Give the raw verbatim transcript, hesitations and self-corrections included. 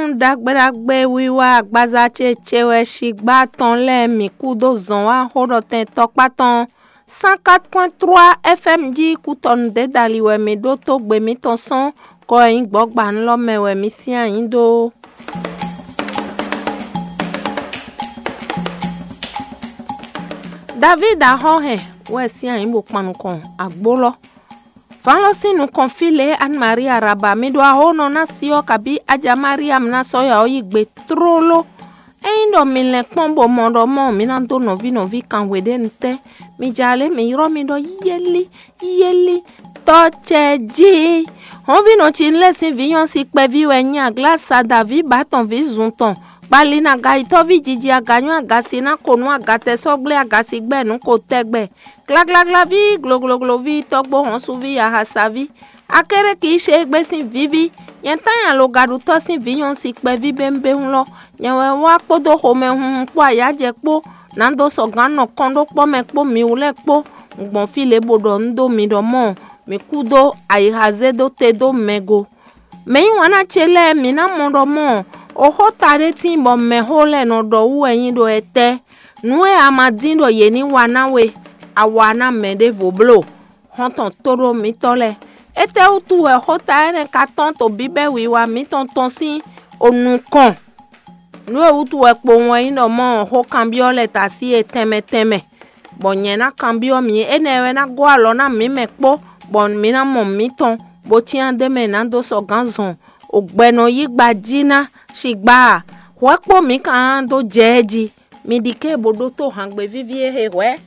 Ɖagbe ɖagbe wiwa agbaza ce ce wɛ sigbá tɔn lɛ́ɛ mǐ kú dó zɔn wá xó ɖɔ tɛn tɔkpá tɔn cent quatre point trois F M jí kútɔnu dě dali wɛ mǐ ɖó tógbe mǐtɔn sɔ́n kɔ e nyí gbɔ̌gbannú lɔ mɛ wɛ mǐ syɛ́n ayǐ dó. Davíd axɔ́ hɛn wɛ syɛ́n ayǐ bó kpan nukɔn agbó lɔ. Vǎn lɔ sín nukɔn fí lě Anne Marie Araba, mi ɖo ahónɔ ná si ɔ́ kabí Aja Mariam ná sɔ́ ya ɔ́ yí gbe tlóló. Ényí ɖɔ mi lɛn kpɔ́n bó mɔ ɖɔ mɔ̌ mi ná dó nɔví nɔví kanhwe ɖé nu tɛ́, mi ja lě mi ylɔ́ mi ɖɔ yɛ́lí yɛ́lí. Tɔ́ cɛ jí. Hɔnvínɔ ce lɛ́ɛ sín vǐ nyɔ́si kpɛví wɛ nyí aglasa Daví bǎ tɔn vǐ zun tɔn. Kpali ná gayitɔ́ví jiji aganyɔ́ agasi ná ko nú agatɛsɔ́gblé agasi gbɛ nǔ ko tɛgbɛ. Glaglaglaví, gloglogloví, tɔ́gbó hɔnsuví, ahasaví. Akéréki ṣe égbé sín víví. Nyɛ tán nyi alogaɖutɔ́ sín vǐ nyɔ́si kpɛví bémbéhún lɔ. Nyɛ wɛ wá kpódó xomɛhunhun kpó ayǎjɛ kpó, nǎ dó sɔgǎn nɔ kɔn ɖó kpɔ́ mɛ kpó mi wú lɛ́ɛ kpó. Un gbɔn fí lě bó ɖɔ nú dó mi ɖɔ mɔ̌, mǐ kú dó ayixa zé dó te dó mɛ go. Mɛ̌ nyí wǎn ná ce lɛ́ɛ mǐ ná mɔ ɖɔ mɔ̌, oxóta ɖé tíin bɔ mɛxó lɛ́ɛ nɔ ɖɔ wú wɛ nyí ɖo ɛtɛ́. Nǔ e a ma dín ɖɔ yě ní wa ná we, a wa ná mɛ ɖěvo bló. Xɔ́ntɔn tóɖó mǐtɔn lɛ́ɛ. Étɛ́wútu wɛ xóta énɛ́ ka tɔ́n to bíbɛ́ wiwa mǐtɔn tɔn sín o nukɔn? Nǔ e wútu wɛ kpowun wɛ nyí ɖɔ mɔ̌ xó kanbyɔ́ lɛ́ɛ ta sí e tɛnmɛ tɛnmɛ, bɔ nyɛ ná kanbyɔ́ mǐ, énɛ́ wɛ ná gɔ́ alɔ ná mǐ mɛ kpó, bɔ mǐ ná mɔ mǐtɔn, bó cyán d'é mɛ ná dó sɔgǎn zɔn. O gbɛ nɔ yí gba jí ná, sigbá a? Hwɛ kpó mǐ ka ná dó jɛ ɛ jí. Mi ɖi ké bó ɖótó hǎngbe víví e he hwɛ̌.